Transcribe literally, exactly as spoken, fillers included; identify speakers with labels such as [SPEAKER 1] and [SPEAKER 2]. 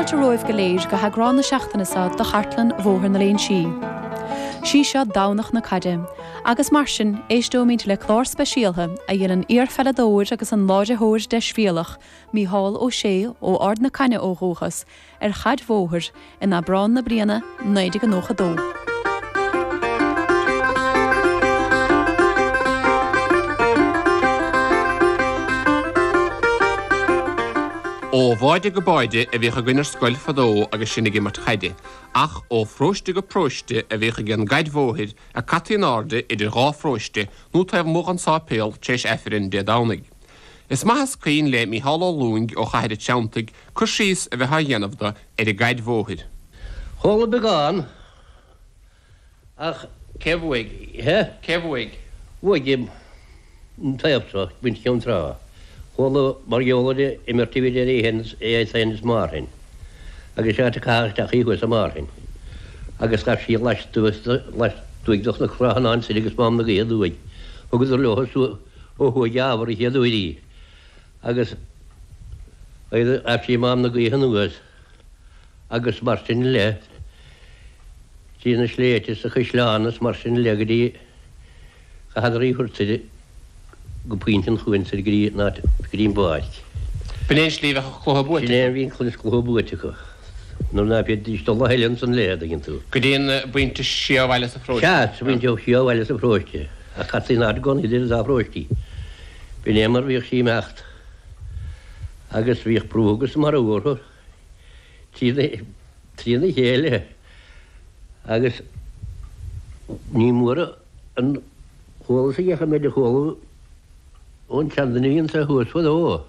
[SPEAKER 1] Fáilte romhaibh go léir go heagrán na seachtaine seo de Chartlann Bhóthar na Léinsí. Sí seo Domhnach na Caide, agus mar sin éisteoimid le clár speisialta a dhein an iarpheileadóir agus an láithreoir deisbhéalach Mícheál Ó Sé ó Ard na Caithne ó dhúchas ar chaid bhóthair in Aibreán na bliana naoi déag nócha dó.
[SPEAKER 2] Ó bháide go báide a bhíodh againn ar scoil fadó agus sinn ag imirt chaide, ach ó pharóiste go paróiste a bhíodh ag an gcaid bhóthair a caití in airde idir dhá pharóiste nó taobh amuigh den sáipéal tar éis Aifreann Dé Domhnaigh. Is maith is cuimhin le Mícheál Ó Lúing ó Chathair an Treanntaigh cur síos a bheith á dhéanamh dó ar an gcaid bhóthair.
[SPEAKER 3] Chuala beagán ach.
[SPEAKER 2] Cé bhuaigh?
[SPEAKER 3] He?
[SPEAKER 2] Cé bhuaigh?
[SPEAKER 3] Bhuaigh an taobh seo, muintir Cheann Trá. Chuala mar gheall ar an imirt a bhí idir é féin is Márthain, agus áit a caitheadh isteach í thuas i Márthain, agus ghabh sí lastuas lastuaidh de Chnoc Ráth soir agus Mám na Gaoithe aduaidh. Thugadar leo ó thuaidh ábhar an chéad uair í, agus ghabh sí Mám na Gaoithe anuas, agus mar sin le trí na sléibhte is an chaisleán is mar sin le go dtí chaitheadar í a thabhairt soir go Pointe an Chuain soir go dtí an áit, go dtí an bpáirc.
[SPEAKER 2] B'in é an slí a bheadh an cluiche buaite
[SPEAKER 3] Sin é a bhí an cluiche buaite acu. Nuair ná féadfaidís dul a thuilleadh ansan léi, an dtuigeann tú.
[SPEAKER 2] Go dtí an bpointe siar ó bhaile sa pharóiste.
[SPEAKER 3] Sea, sa bpointe siar ó bhaile sa pharóiste. Ach caití in airde i gcónaí idir an dá pharóistí. B'in é mar bhíodh sí ag imeacht. Agus bhíodh brú agus marú orthu trína chéile agus ní mór an chualas a dheachaigh mé de chuala ón tseanduine a bhí anso thuas fadó.